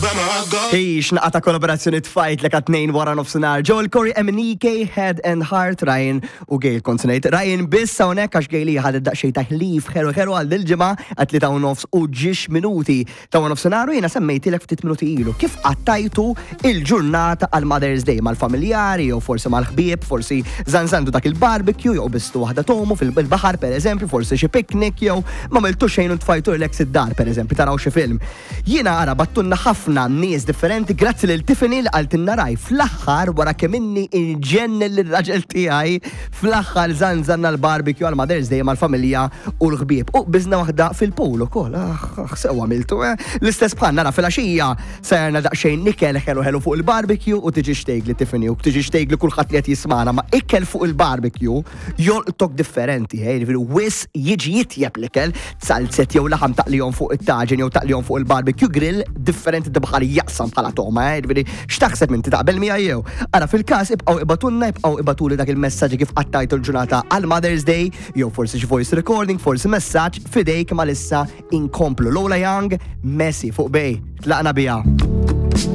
Ix, naqa ta' kollaborazzjoni tfajt l tnejn wara nofsinhar. Joel Corey, MNEK, Head and Heart, Ryan u Gail kont ngħid. Ryan biss hawnhekk għax Gail ħadet daqsxejn ta' ħlif ħeru ħeru għal dil-ġimgħa għat li ta' nofs u ġiex minuti ta' nofsinhar u jiena semmejtilek ftit minuti ilu. Kif qattajtu il-ġurnata għal Mother's Day mal-familjari jew forsi mal-ħbieb, forsi zanzandu dak il-barbecue jew bistu waħda tomu fil-baħar pereżempju, forsi xi picnic jew ma miltu xejn u tfajtu relax id-dar pereżempju taraw xi film. Jiena ara bagħtulna ħafna nies differenti grazzi lil Tiffany li qaltilna raj fl-aħħar wara kemm inni inġennen lir-raġel tiegħi fl-aħħar żanżanna l-barbecue għal Mother's Day mal-familja u l-ħbieb. U qbiżna waħda fil-pool ukoll. Aħ, aħ, sew għamiltu, eh. L-istess bħalna ara filgħaxija sajjarna daqsxejn ikel ħelu ħelu fuq il-barbecue u tiġix tgħidli Tiffany u tiġix tgħidli kulħadd li qed jismagħna ma ikel fuq il-barbecue jolqtok differenti, eh, jiġifieri wis jiġi jitjeb l-ikel, salzet jew laħam taqlihom fuq it-taġen jew taqlihom fuq il-barbecue grill, differenti bħal jaqsam bħala toma, eh, jiġifieri x'taħseb inti taqbel miegħi jew. Ara fil-każ ibqgħu ibatunna, ibqgħu ibatuli dak il-messaġġi kif qattajtu l-ġurnata għal Mother's Day, jew forsi xi voice recording, forsi messaġġ fidejk ma lissa inkomplu. Lola Young, Messi fuq Bay, tlaqna biha.